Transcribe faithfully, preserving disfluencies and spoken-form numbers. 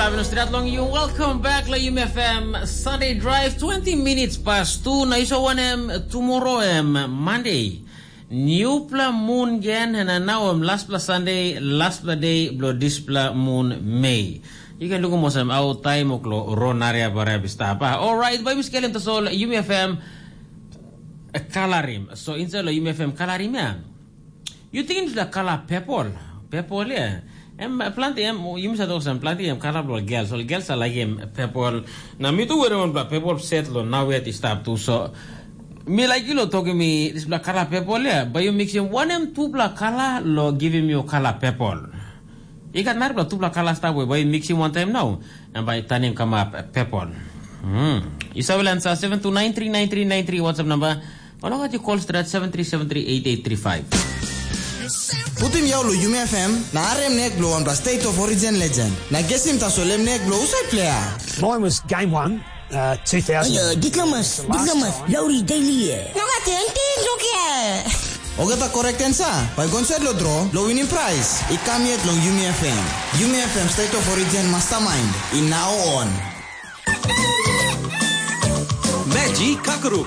Aveno stret long you. Welcome back la Yumi F M Sunday Drive, twenty minutes past two. Na iso wanem, tomorrow em Monday. Newpla moon gen, na now em last pla Sunday, last pla day blo displa moon May. You can look almost em out time oklo ron area barab stapa. All right, by Miss Kelem Tasol, Yumi F M Kalarim. So inside lo Yumi F M Kalarim ya. You think it's the color purple? Purple ya. Em planti em you must have some planti em color blo girls. So girls are like him purple. Na mi tu were on black purple set lo now yet stop too. So mi like you lo talking me this black color purple ya. But you mix him one em two black color lo give him your color purple. You got narapela tupela kala stap we bai mixim wantaim nau, na bai tanim kamap pepol. Hmm. Isabel ansa seven two nine three nine three nine three WhatsApp number. Olo gat you call strat seven three seven three eight eight three five. Putim yau lo Yumi F M, na arem nek blo wanpela State of Origin legend. Na gesim tasol em nek blo usai player. Mine was game one, uh, two thousand. Ayo, diplomas, diplomas, Lowry Daily. No gat anything, look here. Ogata correct answer, bai gon set lo draw, lo winning prize. I kam yet long Yumi F M. Yumi F M State of Origin Mastermind, i now on. Magic Kakaruk.